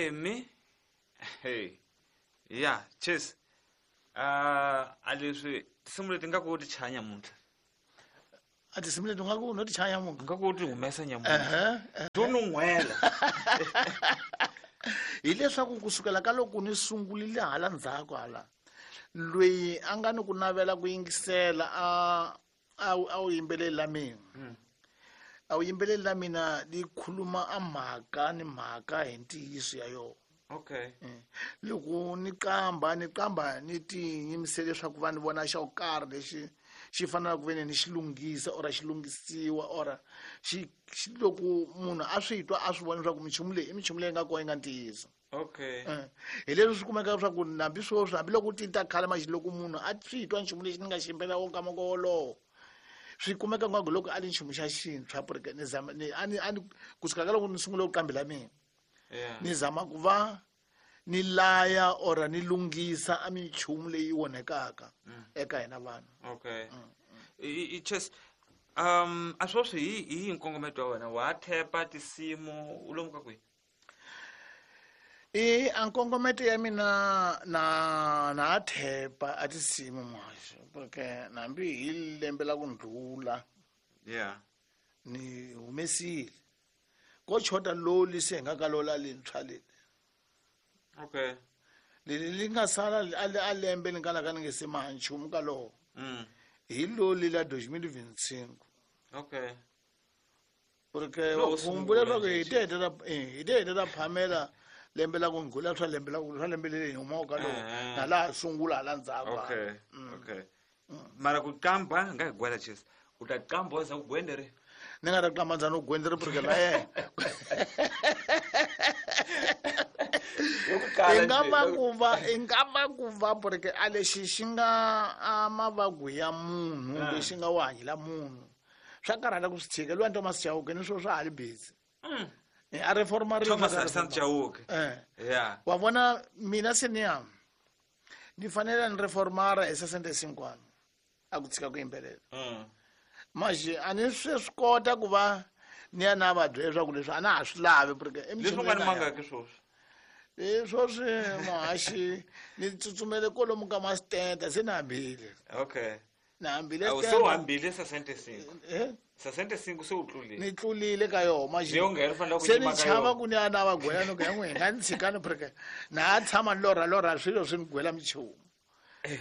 Emi hey ya cheers. A leswi tinsimu leti nga ku ti chaya nyamuntlha. A tinsimu leti nga ku no ti chaya nyamuntlha. Nga ku ti humesa nyamuntlha. To nun'hwela. Hileswaku kusukela ka loko ni sungurile hala ndzhaku hala loyi a nga ni ku navela ku yingisela a wu yimbeleli la mina. A wu yimbeleli la mina li khuluma a mhaka ni mhaka hi ntiyiso ya yona. Okay. Loko ni qamba ni qamba ni tiyimisele leswaku va ni vona xa ku karhi lexi xi fanelaka ku ve ni xi lunghisa or xi lunghisiwa or xi loko munhu a swi twa a swi vona leswaku minchumu leyi i minchumu leyi nga kona yi nga ntiyiso. Okay. Hi leswi swi kumeka leswaku hambi sweswi hambiloko ti ta khale maxi loko munhu a swi twa nchumu lexi ni nga xi yimbelela wo nkama wolowo swi kumeka ngaku loko a li nchumu xa xintshwa porque ni zama ni a ni a ni kusuka ka loko ni sungule ku qambela mina. Ni zama ku va ni laya or ni lunghisa a minchumu leyi onhekaka eka hina vanhu. Okay. I chess a sweswi hi nkongometo wa wena wa thepa tinsimu u lomu ka kwihi? I a nkongometo ya mina na thepa a tinsimu muhaxi porque hambi hi lembe la ku ndlula ni humesile ko chota loli se hi nga ka lola lintshwa leli. Okay. Leli li nga sala a lembe ni nga la ka ni nge se maha nchumu ka lowo. Hi loli la 2025. Okay. Porque humbula leswaku hi te heta phamela lembe la ku ndlula swa lembe la swa lembe leri hi humaka ka lowo na laha sungula hala ndzhaku. Okay. Okay. Mara ku qamba nga hi gwela chess. U ta qamba wa za ku gwendere. Ni nga ta qamba ndzani u gwendere porque la yena. I nga va ku va porque a lexi xi nga a mavabyi ya munhu lexi nga wa hanyela munhu. Swa karhala ku swi tshika luya Thomas Chauke ni swo swa ha li busy. A reforma ri Thomas Hassan Chauke. Wa vona mina se ni ya ni fanele ni reformara hi 65 a ku tshika ku yimbelela. Manje a ni swi swi kota ku va ni ya na va byela leswaku leswi a na ha swi lavi porque i Leswi nga ni mangaki sweswi? Sweswi muhaxi ni tsutsumele kwalomu ka masitenda se ni hambile. Okay. Ni hambile Awu, se u stenda. hambile 65. 65 se u tlulile. Ni tlulile ka yona manje. Leyo nga ri fanele ku Se ni yima ka chava yona. ku ni ya na va gwela ni ku ya n'wina nga ni tshikani porque na ha tshama ni lorha lorha swilo swi ni gwela minchumu.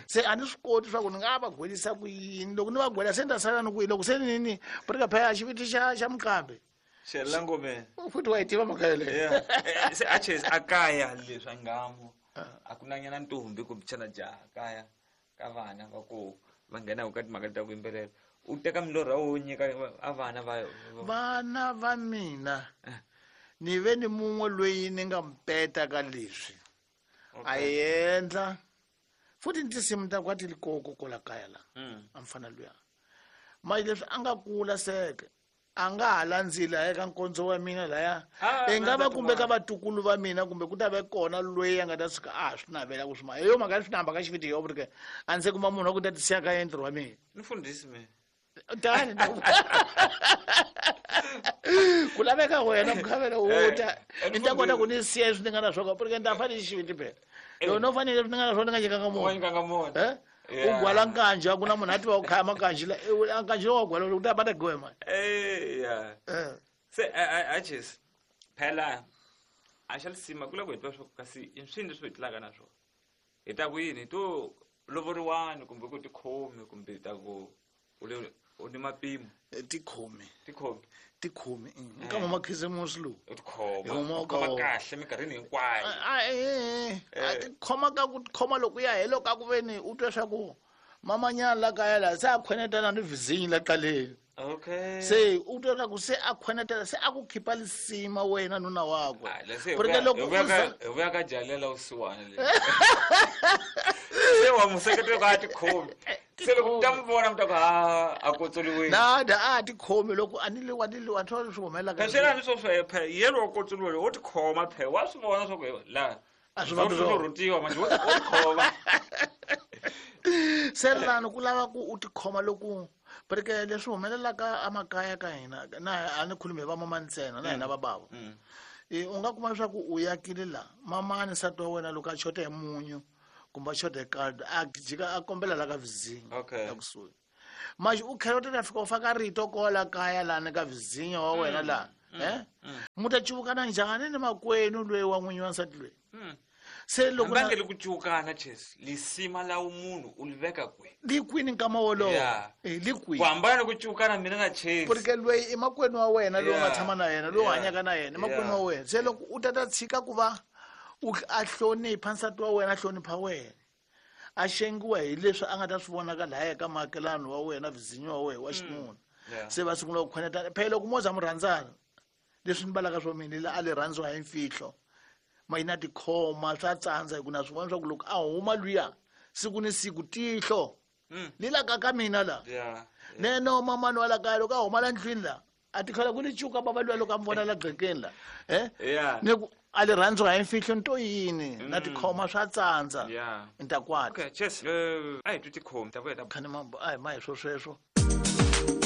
Se a ni swi koti swa ku ni nga va gwelisa ku yini loko ni va gwela se ni ta sala ni ku yini loko se ni ni porque phela xiviti xa muqambi. Xelela ngomeni. Futhi wa yi tiva mhaka yeleyo. Yeah. Se a chase a kaya leswi a ngamo. A ku na nyana ntombi kumbe xana jaha kaya ka vana va ku va nghena ka timhaka ta ku yimbelela. U teka milorho ya wo nyika a vana va Vana va mina ni ve ni mun'we loyi ni nga mpeta ka leswi. A endla futhi ni tinsimu ta ku a ti li koko kwala kaya la. A mfana luya. Manje leswi a nga kula seke a nga ha landzeli a ya ka nkondzo wa mina laya. I nga va kumbe ka vatukulu va mina kumbe ku ta va kona loyi a nga ta suka a ha swi navela ku swi ma. Hi yo mhaka swi namba ka xiviti yo porque a ndzi se kuma munhu wa ku ta ti siya ka yena ntirho wa mina. Ni fundhisi mina. Tani ku laveka wena mukhavela u ta ni ta kota ku ni siya leswi ni nga na swona porque ni ta fanele xiviti phela. Loko no fanele leswi ni nga na swona ni nga nyikanga munhu. Wa nyikanga munhu. U gwala nkanji a ku na munhu a tiva ku khaya makanji la, a nkanji lowu wa gwala u ta bata gwe mani. Se, a Jesse, phela a xa lisima ku lava ku hi tiva swa ku kasi i swini leswi hi tlulaka na swona. Hi ta ku yini? Hi to lovoriwani kumbe ku tikhomi kumbe hi ta ku u le u ni mapimo. Tikhomi. Tikhomi. Tikhomi, Nkama makhisimusi lowu. U tikhoma. Hi huma U tikhoma ka wona. kahle minkarhini hinkwayo. A tikhoma ka ku tikhoma loko ya helo ka ku ve ni u twa swa ku mamanyana la kaya la se a khwenetana ni vizinyi la qaleni. Okay. Se u twa swa ku se a khwenetela se a ku khipa lisima wena nuna wakwe. Ah, le se hi Porque vuya- loko hi vuya u ka- za- hi vuya ka jalela vusiwana le. Se wa n'wi seketela ku a tikhomi. Se loko mi ta n'wi vona mi ta ku, ha, a kotsoliwile. Na, da, a tikhomi loko a ni le wa, ni le wa, ni swi humelelaka. Phela swi na swo swa, phela, yena wa kotsoliwa, wo tikhoma phela, wa swi vona swa ku, la, A swi va swo swona. rhutiwa manje, wo tikhoma. Se lani ku lava ku u tikhoma loko porque leswi humelelaka emakaya ka hina, na a ni khulumi hi vamama ntsena, na hina va bava. U nga kuma leswaku u yakile la mamani nsati wa wena loko a xota hi munyu kumbe a xota hi kaldo a jika a kombela la ka vizinyo la kusuhi manje u tlhela u ta fika u faka rito kola kaya lani ka vizinyo wa wena laha mu ta cuvukana njhani ni makwenu loyi wa n'winyi wa nsati loyi? Se loko na ku cuvukana ches lisima la munhu u li veka kwihi? Li kwini nkama wolowo? Li kwihi? Ku hambana ni ku cuvukana mina na Chase. Porque loyi i makwenu wa wena loyi u nga tshama na yena, loyi u hanyaka na yena, i makwenu wa wena. Se loko u ta ta tshika ku va u a hlonipha nsati wa wena, a hlonipha wena, a xengiwa hi leswi a nga ta swi vonaka lahaya ka maakelani wa wena, vizinyo wa wena wa xinuna. Se va sungula ku khwenetana. Phela loko mo za mi rhandzana, leswi ni balaka swo mina la a le rhandziwa hi mfihlo, ma yi na tikhoma swa tsandza hi ku na swi vona swa ku loko a huma luya siku ni siku tihlo li la ka ka mina la. Neno mamani wa la kaya loko a huma la ndlwini la a ti tlhela ku li cuka bava luya loko a mi vona la gqekeni la ni ku a le rhandziwa hi mfihlo ni to yini na tikhoma swa tsandza. Ni ta kwata. Okay, cheers. A hi twi tikhomi ta vuya ta khani mambo a hi ma hi swo sweswo.